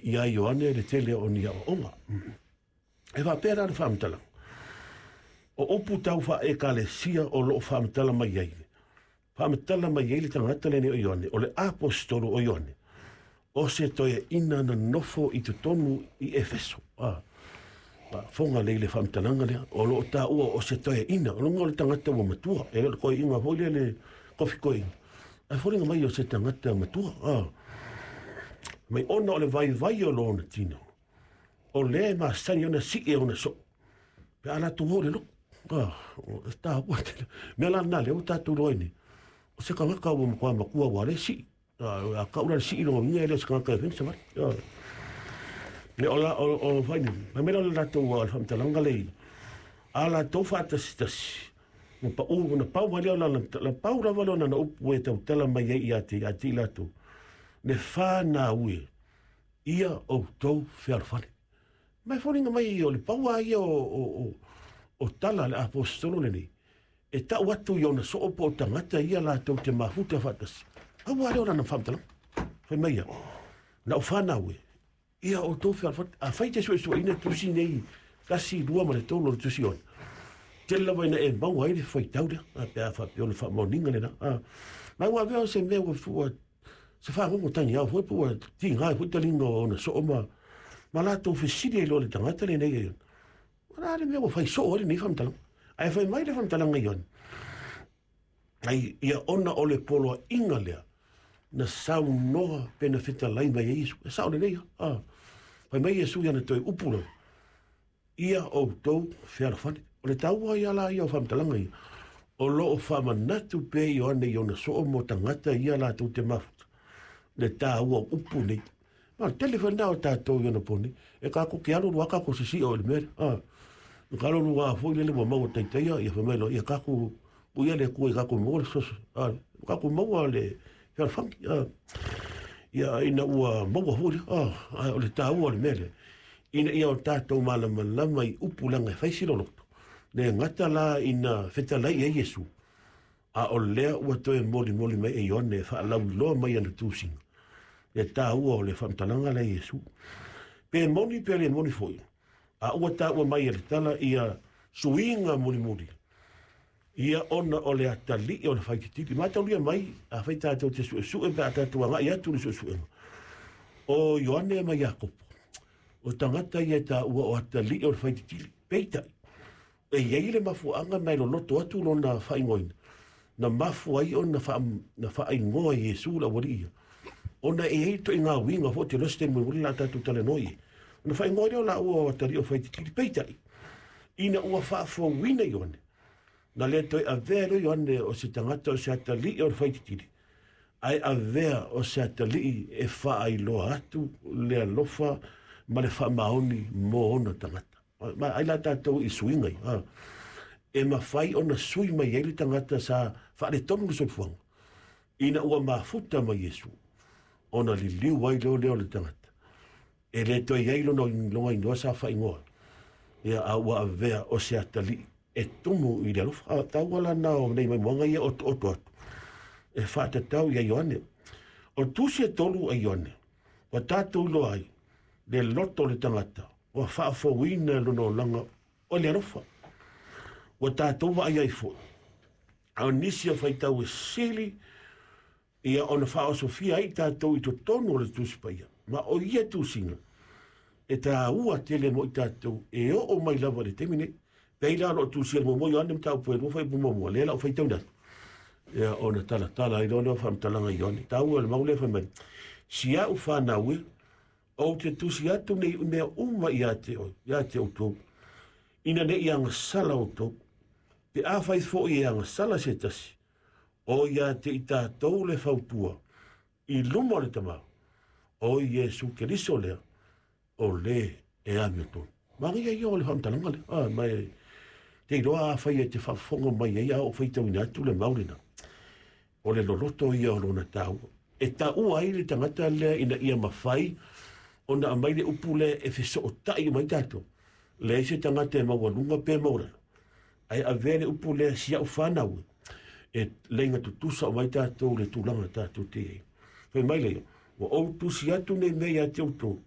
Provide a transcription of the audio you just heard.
iā Ioane le tele o ni aoaoga. E faapea la le faamatalaga, o upu tau faa-Ekalesia o loo faamatala mai ai. Faamatala mai ai le tagata lenei o Ioane, o le aposetolo o Ioane, o se toeaina na nofo i totonu i Efeso. Fofoga lelei i le faamatalaga lea, o loo taua o se toeaina, o luga o le tagata ua matua, e le o le toeaina foi lea le kofi toeaina, ae foliga mai o se tagata matua. Mai ona o le vaivai o lona tino, o lea e masani ona sii e ona soo, pe a latou o i le lotu. O taua tele. Mea la lena lea ua tatou iloa ai nei, o se tagata ua matua matua ua le sii. A kau la le sii lona uiga e le o se tagata e fai ni savali. Me o la o fai ni, mai mai la o le latou le faamatalaga lea i a latou faatasitasi, ua pau na pau mai lea o lana la pau lava lea o lana upu e tautala mai ai ia te i latou, le fanau e, ia outou fealofani. Ma e foliga mai o le pau lava ia o tala a le aposetolo lenei, e tau atu i ona soo po o tagata ia latou te mafuta faatasi. Aua lea o lana faamatalaga. Fai mai ia, na o fanau e, ia outou fealofani. Afai te suesueina tusi nei, 1, 2 ma le 3 o le tusi ona, tele lava ina e maua ai le faitau lea, pe a faapea o le faamaoniga lena. Ma ua avea o se mea ua fua, se fagogo tagiao foi po ua tiga ai foi taliga o ona soo ma latou fesili ai loa le tagata lenei e Iona. O le a le mea ua fai soo ai lenei faamatalaga? Ae fai mai le faamatalaga i Iona, ai ia ona o le poloaiga lea na saunoa pe na fetalai mai ai Iesu. E sao lelei lava. Fai mai Iesu ia na toe upu lava, ia outou fealofani. O le taua ia la ia o faamatalaga ia, o loo faamanatu pea Ioane i ona soo mo tagata ia latou te mafuta, le taua o upu nei. Ma o le tele foi lena o tatou i ona po nei, e kākou ke alu alu a kākou sisii o i le mea lea. Ka alu alu a foi lele ua maua taitaia, ia fai mai loa, ia kākou uia le Atua i kākou maua le fesoasoani. Kākou maua le fealofani. Ia ina ua maua foi lea. Ae o le taua o le mea lea, ina ia o tatou malamalama i upu leaga e fai si loloto. Le gata la ina fetalai ai Iesu, a o lea ua toe molimoli mai e Ioane e faalauiloa mai ana tusiga, le taua o le faamatalaga lea Iesu. Pe moni pe le moni foi, a ua taua mai e le tala ia suiga mulimuli, ia ona o le atalii o le faititili. Mataulia mai, a fai tatou te suesue pe a tatou agai atu i le suesuega, o Ioane ma Iakopo, o tagata ia e taua o atalii o le faititili. Peitai, e iai le mafuaaga mai loloto atu lona faaigoaina, na mafua ai ona na faaigoa Iesu le aualii ia, ona e iai ituaiga uiga foi te loa se taimi mulimuli la tatou talanoa i ai. Ona faaigoa lea o laua o atalii o faititili. Peitai, ina ua faafouina Ioane, na le toe avea lea Ioane o se tagata o se atalii o le faititili, ae avea o se atalii e faailoa atu le alofa ma le faamaoni mo ona tagata. Ma ai la tatou i suiga ia. E mafai ona sui mai ai le tagata sa faaletonu le soifuaga, ina ua mafuta mai Iesu, ona liliu ai leo lea o le tagata. E le toe i ai lona igoa sa faaigoa, ia a ua avea o se atalii e tumu i le alofa. Taua la na o nei maimoaga ia otooto atu, e faatatau ia Ioane. O tusi e 3 a Ioane, ua tatou iloa ai le loto o le tagata, ua faafouina lona olaga o le alofa. Ua tatou vaai ai foi, a o nisi o faitau e sili, ia ona faaosofia ai tatou i totonu o le Tusi Paia. Ma o ia tusiga, e taua tele mo i tatou e oo mai lava i le taimi nei. Pei la o loo tusia le muamua Ioane mataupu e 2 fuaiupu muamua, lea la o faitauina atu. Ia ona talatala ai loa lea o faamatalaga i Ioane. Taua le mau lea fai mai, si au fanau e, ou te tusi atu nei mea uma ia te oe, ia te outou, ina ne i agasala outou. Pe a fai foi e agasala se tasi, o ia te i tatou le fautua, i luma o le Tama, o Iesu Keriso lea, o le e amiotonu. Manaia ia o le faamatalaga lea. Ma e te iloa a fai e te faafofoga mai ai a o faitauina atu le mau lena, o le loloto ia o lona taua. E taua ai le tagata lea ina ia mafai ona aumai le upu lea e fesootai mai tatou. Leai se tagata e maualuga pe maualalo, ae avea le upu lea si au fanau e leiga tutusa o mai tatou le tulaga tatou te i ai. Fai mai lea, ua ou tusi atu nei mea ia te outou,